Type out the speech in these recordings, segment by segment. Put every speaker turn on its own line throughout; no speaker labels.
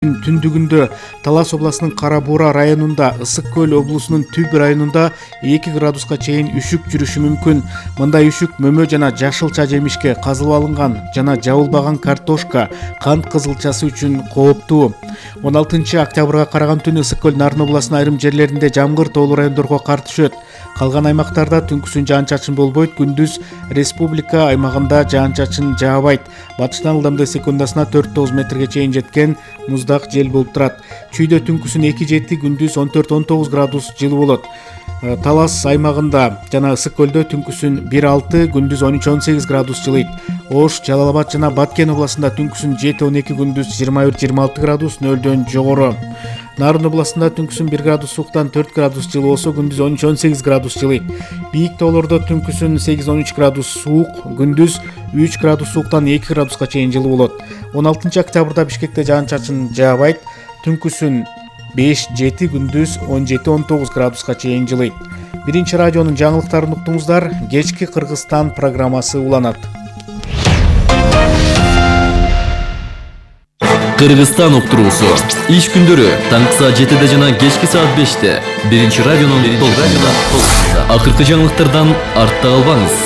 Түндүгүндө Талас областынын Кара Буура районунда, Ысык Көл облусунун Түп районунда 2 градуска чейин үшүк жүрүшү мүмкүн. Мындай үшүк мөмө жана жашылча жемишке, казылып алынган жана жабылбаган картошка, кант кызылчасы үчүн кооптуу. 16 октябрга караган түнү Ысык Көл Нарын областынын айрым жерлеринде жамгыр, тоолуу райондорго кар түшөт. Калган аймактарда түнкүсүн жаан-чачын болбойт, күндүз республика аймагында жаан-чачын жаабайт. Батыштан ылдамдыгы секундасына 4-9 метрге чейин жеткен муздак жел болуп турат. Чүйдө түнкүсүн 2-7, күндүз 14-19 градус жылуу болот. Талас аймагында жана Ысык Көлдө түнкүсүн 1-6, күндүз 13-18 градус жылыйт. Ош, Жалал Абад жана Баткен областында түнкүсүн 7-12, күндүз 21-26 градус нөлдөн жогору. Нарын областында түнкүсүн 1 градус сууктан 4 градус жылуу болсо, күндүз 13-18 градус жылыйт. Бийик тоолордо түнкүсүн 8-13 градус суук, күндүз 3 градус сууктан 2 градуска чейин жылуу болот. 16 октябрда Бишкекте жаан-чачын жаабайт. Түнкүсүн 5-7, күндүз 17-19 градуска чейин жылыйт. Биринчи радионун жаңылыктарын уктуңуздар. Кечки Кыргызстан программасы уланат.
Кыргызстан уктуруусу. Иш күндөрү таңкы саат 7 жана кечки саат 5-те. Биринчи радионун толкунунда. Акыркы жаңылыктардан артта калбаңыз.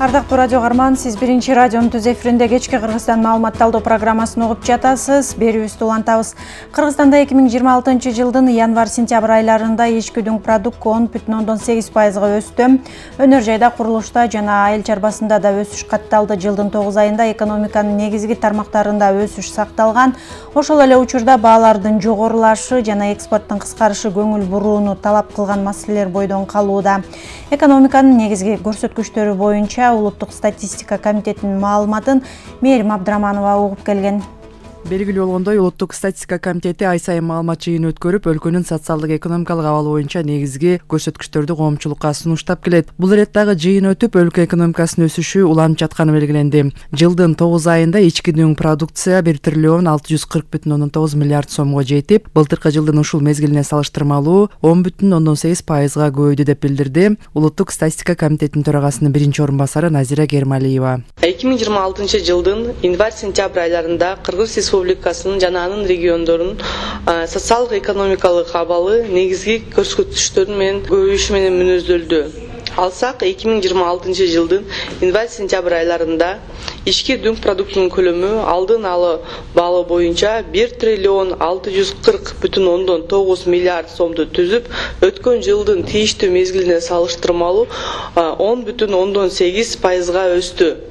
Ардактуу радио каарман, сиз биринчи радионун түз эфиринде кечки Кыргызстан маалыматталдоо программасын угуп жатасыз. Берүүбүздү улантабыз. Кыргызстанда 2026 жылдын январь-сентябрь айларында ички дүң продукт 10,8%га өстү. Өнөр жайда, курулушта жана айыл чарбасында да өсүш катталды. Жылдын 9 айында экономиканын негизги тармактарында өсүш сакталган. Ошол эле учурда баалардын жогорулашы жана экспорттун кыскарышы көңүл бурууну талап кылган маселелер бойдон калууда. Экономиканын негизги көрсөткүчтөрү боюнча Улуттук статистика комитетинин маалыматын Мээрим Абдыраманова угуп келген.
Белгилүү болгондой, Улуттук статистика комитети ай сайын маалымат жыйын өткөрүп, өлкөнүн социалдык экономикалык абалы боюнча негизги көрсөткүчтөрдү коомчулукка сунуштап келет. Бул иреттагы жыйын өтүп, өлкө экономикасынын өсүшү уланып жатканы белгиленди. Жылдын 9 айында ички дүң продукция 1 триллион 640,9 миллиард сомго жетип, былтыркы жылдын ушул мезгилине салыштырмалуу 10,8%га көбөйдү деп билдирди Улуттук статистика комитетинин төрагасынын биринчи орун басары Назира Гермалиева.
2026 жылдын январь-сентябрь айларында Кыргыз Республикасынын жана анын региондорунун социалдык экономикалык абалы негизги көрсөткүчтөрү менен көбөйүшү менен мүнөздөлдү. Алсак, 2026 жылдын январь-сентябрь айларында ички дүң продуктунун көлөмү алдын алы баалы боюнча 1 триллион 640,9 миллиард сомду түзүп, өткөн жылдын тийиштүү мезгилине салыштырмалуу 10,8%га өстү.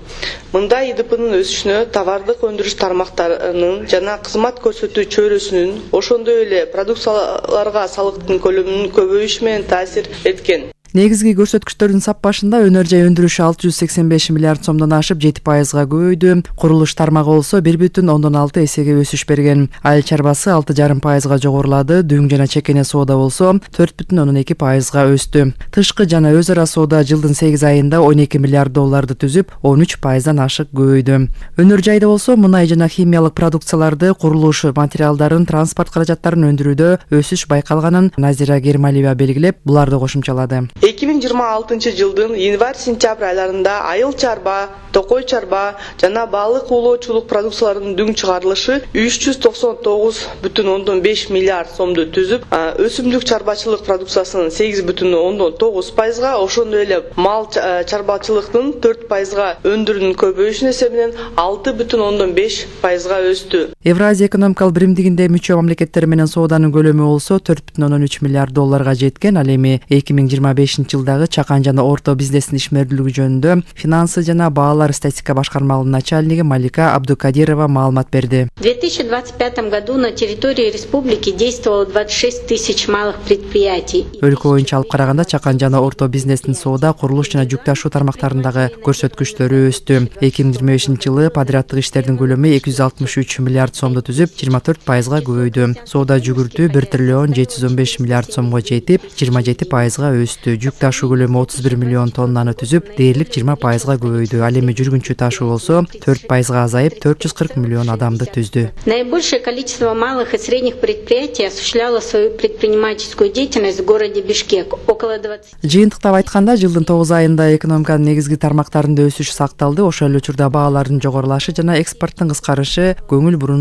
Мындай ИДПнын өсүшүнө товардык өндүрүш тармактарынын жана кызмат көрсөтүү чөйрөсүнүн, ошондой эле продукцияларга салыктын көлөмүнүн көбөйүшү менен таасир эткен.
Негизги көрсөткүчтөрдүн саппашында өнөр жай өндүрүшү 685 миллиард сомдон ашып 7%га көбөйдү. Курулуш тармагы болсо 1,6 эсеге өсүш берген. Айыл чарбасы 6,5%га жогорулады. Дүң жана чекене соода болсо 4,2%га өстү. Тышкы жана өз ара соода жылдын 8 айында 12 миллиард долларды түзүп, 13%дан ашык көбөйдү. Өнөр жайда болсо мунай жана химиялык продукцияларды, курулуш материалдарын, транспорт каражаттарын өндүрүүдө өсүш байкалганын Назира Гермалиева белгилеп, буларды кошумчалады.
2026 жылдын январь-сентябрь айларында айыл чарба, токой чарба жана балык уулоочулук продукцияларынын дүң чыгарылышы 399,5 миллиард сомду түзүп, өсүмдүк чарбачылык продукциясынын 8,9%га, ошондой эле мал чарбачылыктын 4%га өндүрүүнүн көбөйүшүнүн эсебинен 6,5%га өстү.
Евразия экономикалык биримдигинде мүчө мамлекеттер менен сооданын көлөмү болсо 4,3 миллиард долларга жеткен. Ал эми 2025 жылдагы чакан жана орто бизнестин ишмердүүлүгү жөнүндө финансы жана баалар статистика башкармалыгынын начальниги Малика Абдукадирова маалымат берди.
В 2025 году на территории республики действовало 26 тысяч малых предприятий.
Өлкө боюнча алып караганда чакан жана орто бизнестин соода, курулуш жана жүк ташуу тармактарындагы көрсөткүчтөрү өстү. 2025 жылы подряддык иштердин көлөмү 263 миллиард сомду түзүп, 24%га көбөйдү. Соода жүгүртүү 1 триллион 715 миллиард сомго жетип, 27%га өстү. Жүк ташуу көлөмү 31 миллион тоннаны түзүп, дээрлик 20%га көбөйдү. Ал эми эми жүргүнчү ташуу болсо 4% азайып 440 миллион адамды түздү.
Наибольшее количество малых и средних предприятий осуществляло свою предпринимательскую деятельность в городе Бишкек. Около 20.
Жыйынтыктап айтканда, жылдын 9 айында экономиканын негизги тармактарында өсүш сакталды. Ошол эле учурда баалардын жогорулашы жана экспорттун кыскарышы көңүл буруу